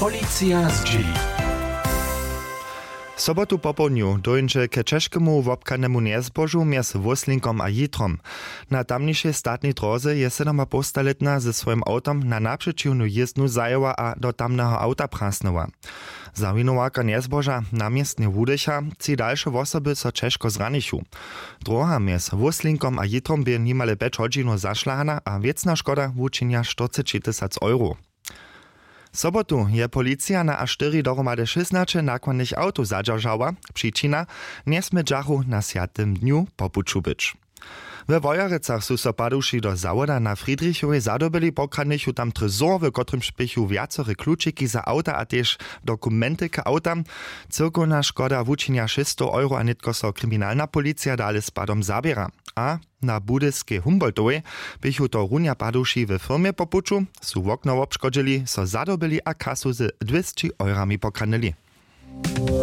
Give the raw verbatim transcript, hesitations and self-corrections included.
Policija zdźěli. Sobotu popołdnju dóńdźe k ćežkemu wobchanemu njezbožu mjez Wóslinkom a Jitrom. Na tamnišej statnej dróze je sydomapołstalětna ze swojim awtom na napřećiwnu jězdnu zajěła a do tamneho awta prasnyła. Zawinowarka njezboža na městnje wudycha, tři dalše wosoby so ćežko zranichu. Dróha mjez Wóslinkom a Jitrom bě nimale pjeć hodźinow zašlahana a wěcna škoda wučinja štyrceći tysac euro. Sobotu je policija na a štyri dohromady šěsnaće nakładnych awtow zadźeržała. Přičina: njesmědźachu na swjatym dnju po puću być. We Wojerecach su so paduši do zawoda na Friedrichowej zadobyli, pokradnychu tam trésor, w kotrymž běchu wjacore klučiki za awta a tež dokumenty k awtam. Cyłkowna škoda wučinja šěsćstow euro a nětko so kriminalna policija dale z padom zaběra. A na budyskej Humboldtowej běchu to runja paduši we firmje po puću, su wokno wobškodźili, so zadobyli a kasu z dwěsći eurami pokradnyli.